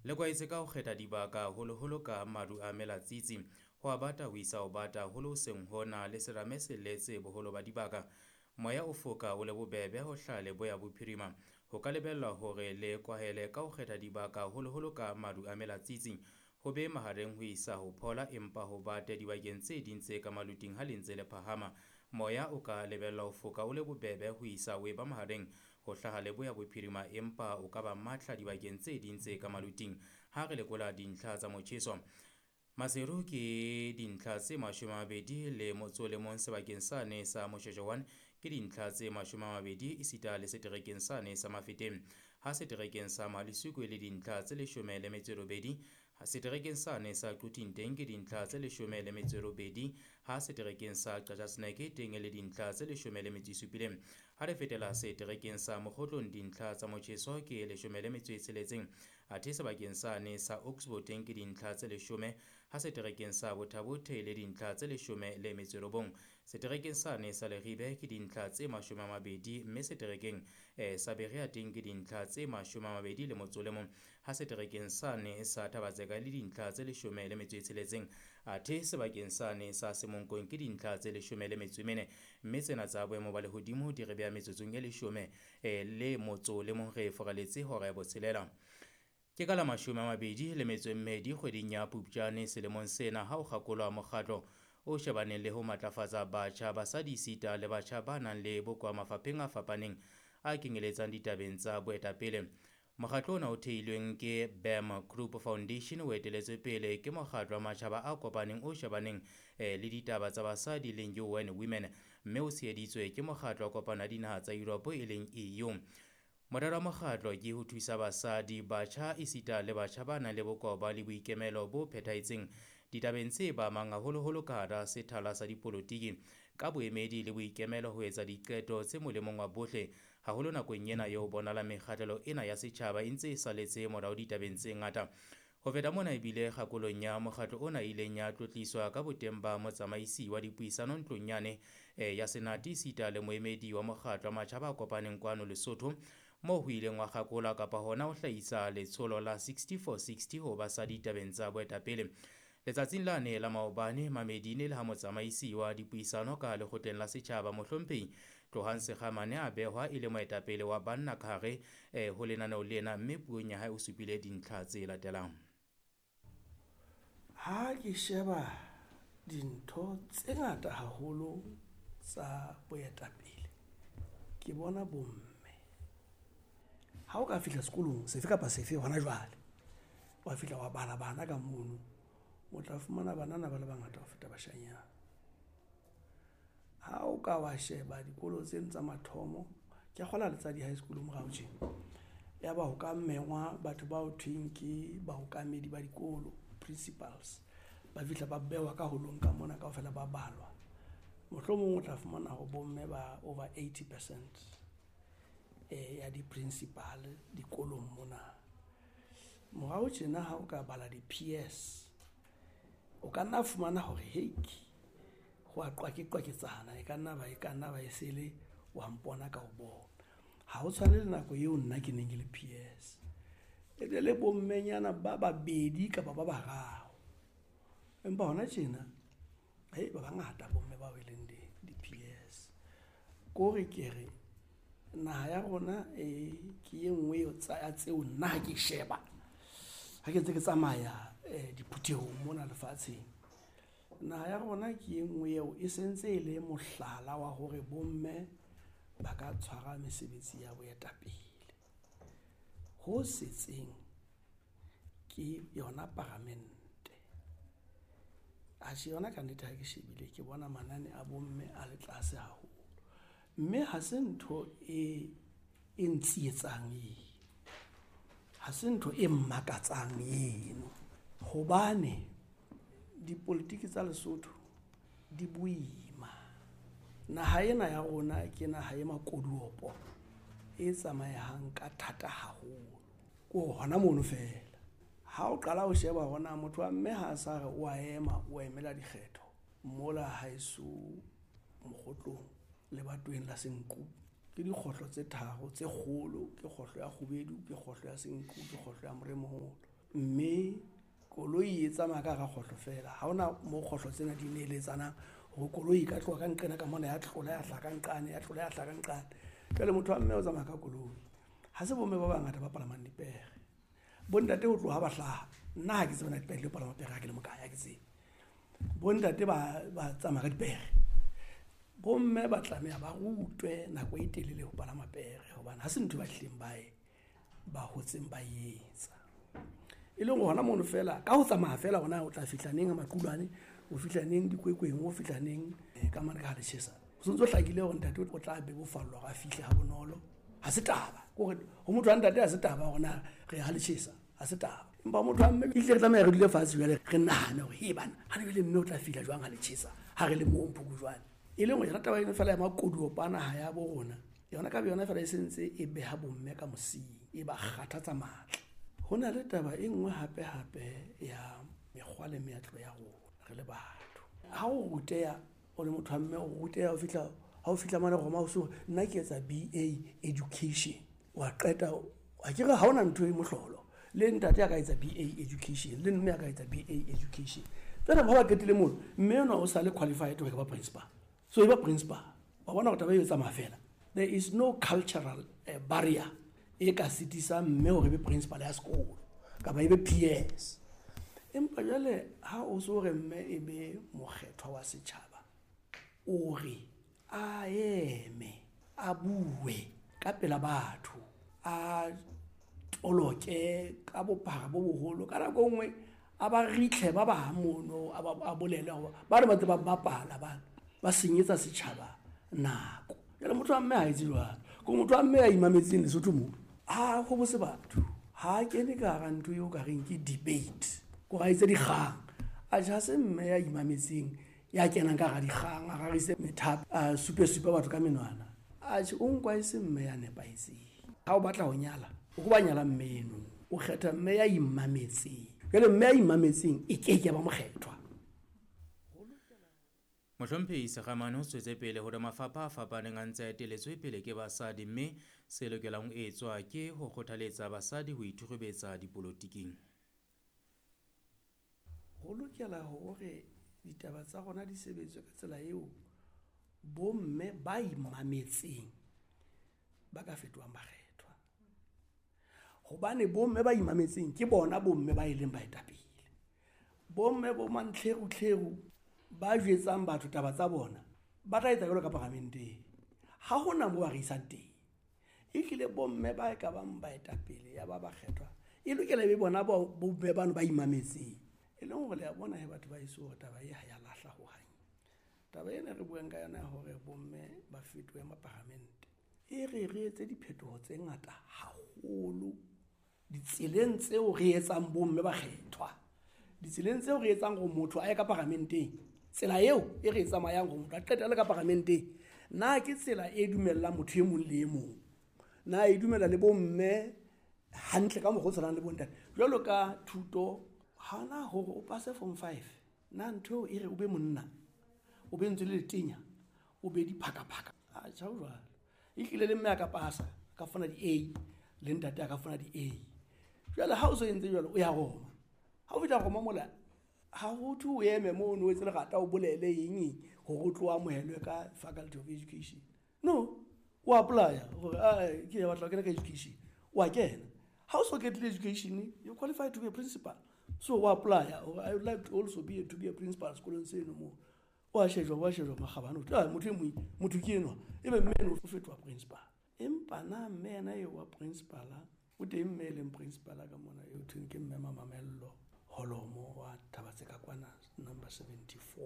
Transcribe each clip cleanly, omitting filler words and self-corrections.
Le kwaetse ka ho kgetha dibaka haholoholo ka maru a melatsitsi. Ho a bata ho isa ho bata haholo hoseng hona le serame se letse boholo ba dibaka. Moya o foka o le bobebe ho hlaha leboya bophirima. Ho ka lebellwa hore le kwahele ka ho kgetha dibaka haholoholo ka maru a melatsitsi. Ho be mahareng ho isa ho phola empa ho bate dibakeng tse ding tse ka maluting ha le ntse le phahama. Moya o ka lebellwa ho foka o le bobebe ho isa ho eba mahareng ho hlaha leboya bophirima empa o ka ba matla dibakeng tse ding tse ka maluting. Ha re lekola dintlha tsa motjheso, Maseru ke dintlha tse 21 sebakeng sane sa Moshoeshoe 1 ke dintlha tse 20 esita le seterekeng sane sa Mafeteng. Ha seterekeng sa Malisuku e le dintlha tse 18, seterekeng sane sa Quthing teng ke dintlha tse 18, ha seterekeng sa Qacha's Nek teng e le dintlha tse 17. Ha re fetela seterekeng sa Mokgotlong dintlha tsa motjheso ke 16, athe sebakeng sane sa Oxbow teng ke dintlha tse 10, ha seterekeng sa Botha-Bothe le dintlha tse 19. Seterekeng sane sa Leribe ke dintlha tse 20, mme seterekeng sa Berea teng ke dintlha tse 21, ha seterekeng sane sa Thaba-Tseka le dintlha tse 16, athe sebakeng sane sa Semonkong ke dintlha tse 14, mme tsena tsa boemo ba lehodimo di re beha metsotsong e 11 re foraletse hora ya botshelela. Ke ka la 22 kgweding ya Phupjane selemong sena ha o kgakolwa mokgatlo o shebaneng le ho matlafatsa batjha, basadi esita le batjha ba nang le bokowa mafapheng a fapaneng a kenyeletsang ditabeng tsa boetapele. Mokgatlo ona o theilweng ke BAM Group Foundation o eteletswe pele ke mokgatlo wa matjhaba a kopaneng o shebaneng le ditaba tsa basadi leng UN Women, mme o tsheheditswe ke mokgatlo wa kopano ya dinaha tsa Europe e leng EU. Morero wa mokgatlo ke ho thusa basadi, batjha esita le batjha ba nang le bokowa le boikemelo bo phethahetseng ditabeng tse ba amang haholoholo ka hara sethala sa dipolotiki, ka boemedi le boikemelo ho etsa diqeto tse molemong wa bohle, haholo nakong ena eo bonahalang mekgahlelo ena ya setjhaba e ntse e saletse morao ditabeng tse ngata. Ho feta mona ebile kgakolong ya mokgatlo ona e ileng ya tlotliswa ka boteng ba motsamaisi wa dipuisano ntlong yane ya Senate esita le moemedi wa mokgatlo wa matjhaba a kopaneng kwano Lesotho, moo ho ileng wa kgakolwa kapa hona ho hlahisa letsholo la 6460 ho basadi ditabeng tsa boetapele. Letsatsing lane la maobane Mamedine le ha motsamaisi wa dipuisano ka lekgotleng la setjhaba mohlomphehi Tlohang Sekgamane a behwa e le moetapele wa banna ka hare ho lenaneo lena, mme puong ya hae o supile dintlha tse latelang. Ha ke sheba dintho tse ngata haholo tsa boetapele, ke bona bomme. Ha o ka fihla sekolong sefe kapa sefe hona jwale, wa fihla wa bala bana ka mono, o tla fumana banana ba le bangata ho feta bashanyana. Ha o ka wa sheba dikolo tseno tsa mathomo, ke a kgola le tsa di-high school morao tje, ya ba ho ka mengwa batho bao thweng ke baokamedi ba dikolo, principals, ba fihla ba bewa ka holong ka mona kaofela ba balwa. Mohlomong o tla fumana hore bomme ba over 80% ya di-principal dikolong mona. Morao tjena ha o ka bala di-PS, o ka nna fumana hore heki ho a qwake-qwaketsana, e ka nna ba e sele wa mpona ka ho bona. Ha ho tshwane le nako eo nna ke neng ke le PS. E ne le bommenyana ba babedi kapa ba bararo. Empa hona tjena, hei, ba bangata bomme bao e leng di-PS. Kore ke re naha ya rona ke e nngwe ya tseo nna ha ke sheba, ha ke ntse ke tsamaya diphuthehong mona lefatsheng, naha ya rona ke e nngwe eo e sentse e le mohlala wa hore bomme ba ka tshwara mesebetsi ya boetapele. Ho setseng ke yona paramente. Atjhe, yona ka nnete ha ke shebile ke bona manane a bomme a le tlase haholo. Mme ha se ntho e ntsietsang eno, ha se ntho e mmakatsang eno, hobane dipolitiki tsa Lesotho di boima. Naha ena ya rona ke naha e makoduopo e tsamayang ka thata haholo. Ko hona mono fela. Ha o qala ho sheba hona motho wa mme ha a sa re o a ema, o emela dikgetho mola haeso Mokgotlong lebatoweng la Senqu. Ke dikgohlo tse tharo tse kgolo, ke kgohlo ya Kgubedu, ke kgohlo ya Senqu, ke kgohlo ya Moremoholo. Mme koloi e tsamaya ka hara kgohlo fela. Ha hona mo kgohlo tsena di neeletsanang hore koloi e ka tloha ka nqena ka mona ya tlola ya hlaha ka nqane, ya tlola ya hlaha ka nqane. Jwale motho wa mme o tsamaya ka koloi. Ha se bomme ba bangata ba palamang dipere. Bontate ho tloha ba hlaha, nna ha ke tsebe na dipere di palama pere ha ke le mokae, ha ke tsebe. Bontate ba tsamaya ka dipere. Bomme ba tlameha ba rutwe nako e telele ho palama pere hobane ha se ntho ba hlileng ba hotseng ba etsa. E leng hona mono fela ka ho tsamaya fela hona o tla fihla neng Maqulwane, o fihla neng Dikwekweng, o fihla neng ka mane ka ha Letjhesa. O sontso hlakile hore ntate o tla bebofallwa hore a fihle ha bonolo. Ha se taba. Ke hore ho motho wa ntate ha se taba hore na re ha Letjhesa, ha se taba. Empa motho wa mme ehlile re tlameha re dule fatshe jwale re nahane hore he bana, ha re le mme o tla fihla jwang ha Letjhesa, ha re le moo Mphukujwane. E leng hore yona taba eno fela ya makoduopa naha ya bo rona, yona ka yona fela e sentse e beha bomme ka mosing, e ba kgathatsa matla. Ho na le taba e nngwe hape hape ya mekgwa le meetlo ya rona re le batho. Ha o ruteha o le motho wa mme, o ruteha ha o fihla mane Roma, o so nna ke etsa BA education, wa qeta ha ke re ha hona ntho e mohlolo. Le ntate a ka etsa BA education, le mme a ka etsa BA education. Jwale ha ba qetile mono, mme enwa o sa le qualified hore e ka ba principal. So e ba principal. Wa bona hore taba eo e tsamaya fela. There is no cultural barrier e ka sitisang mme hore e be principal ya sekolo kapa e be PS. Empa jwale ha o so re mme e be mokgethwa wa setjhaba, o re a eme, a bue ka pela batho, a toloke ka bophara bo boholo. Ka nako e nngwe a ba ritlhe ba bang mono, a bolele hore ba re ba ntse ba bapala bana, ba senyetsa setjhaba nako. Jwale motho wa mme ha etse jwalo. Ke motho wa mme ya imametseng Lesotho moo, ha ho bose batho, ha kene ka hara ntho eo ka reng ke debate, ko ra etse dikgang. Atjhe, ha se mme ya imametseng ya kenang ka hara dikgang, a rarise methapo, a supe supe batho ka menwana. Atjhe, o nkwa e se mme ya nepahetseng. Ha o batla ho nyala, o ko ba nyala mme eno, o kgetha mme ya imametseng. Jwale mme ya imametseng e ke ke ba mokgethwa. Mohlomphehi Sekgamane o tswetse pele hore mafapha a fapaneng a ntse a eteletswe pele ke basadi, mme se lokelang ho etswa ke ho kgothaletsa basadi ho ithukhubetsa dipolotiking. Ho lokela hore ditaba tsa rona di sebetswe ka tsela eo bomme ba imametseng ba ka fetohang bakgethwa. Hobane bomme ba imametseng ke bona bomme ba e leng baetapele. Bomme bo mantlherutlheru ba jwetsang batho taba tsa bona, ba tla etsa jwalo ka paramenteng. Ha hona moo ba re isang teng. Ehlile bomme ba ka bang baetapele ya ba bakgethwa, e lokela e be bona bomme bano ba imametseng. E leng hore le a bona he batho ba heso hore taba e ha ya lahla hohang. Taba ena re buang ka yona hore bomme ba fetohe maparamente, e re re etse diphetoho tse ngata haholo ditseleng tseo re etsang bomme ba kgethwa, ditseleng tseo re etsang hore motho a ye ka paramenteng. Tsela eo e re e tsamayang hore motho a qetelle ka paramenteng, na ke tsela e dumellang motho e mong le e mong? Na e dumela le bomme hantle ka mokgwa o tshwanang le bontate? Jwalo ka thuto, hana hore o pase form 5, na ntho eo e re o be monna, o be ntse le letenya, o be diphakaphaka. Atjha, ho jwalo. Ehlile le mme a ka pasa, a ka fumana di-A, le ntate a ka fumana di-A. Jwale ha o so entse jwalo, o ya Roma. Ha o fihla Roma mola, ha ho thwe o eme mono o etse lerata, o bolele eng eng hore o tlo amohelwe ka Faculty of Education. No, o apply-a hore, ke batla ho kena ka education. O a kena. Ha o so qetile education, you qualify to be a principal. So o apply-a hore I would like to also to be a principal sekolong seno moo. O a shejwa, o a shejwa makgabane, o thwe, motho e mong, motho ke enwa. Ebe mme eno o fetoha principal. Empa na mme yena eo wa principal, o teng mme e leng principal ka mona, eo thweng ke mme Mamamello Holomo wa Thabatse ka kwana number 74.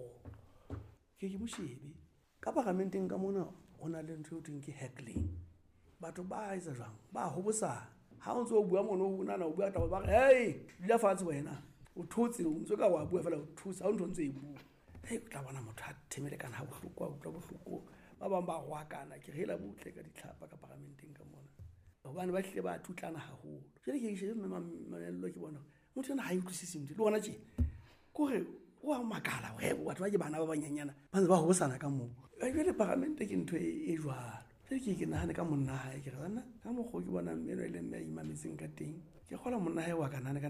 Ke mo shebe. Ka paramenteng ka mona ho na le ntho eo thweng ke heckling. Batho ba etsa jwang? Ba hobosana. Ha o ntso o bua mono, o nahana o bua taba, ba re, hey, dula fatshe wena. O thotse, o ntso ka wa bua fela, o thotse, ha o ntho ntse e bua. Hey, o tla bona motho a themele kana ha bohloko, a utlwa bohloko. Ba bang ba rwakana, ke re hela butle ka ditlhapa ka paramenteng ka mona. Hobane ba hlile ba thutlana haholo. Jwale ke shebe mme Mamello ke bona motho ena ha e utlwisise ntho. Le ona tje, ke hore o a makala hore batho ba ke bana ba banyenyana ba ntse ba hobosana ka moo. Jwale paramente ke ntho e jwalo. Jwale ke nahane ka monna hae, ke re banna ka mokgwa o ke bonang mme enwa e leng mme a imametseng ka teng, ke kgolwa monna hae wa ka nahane ka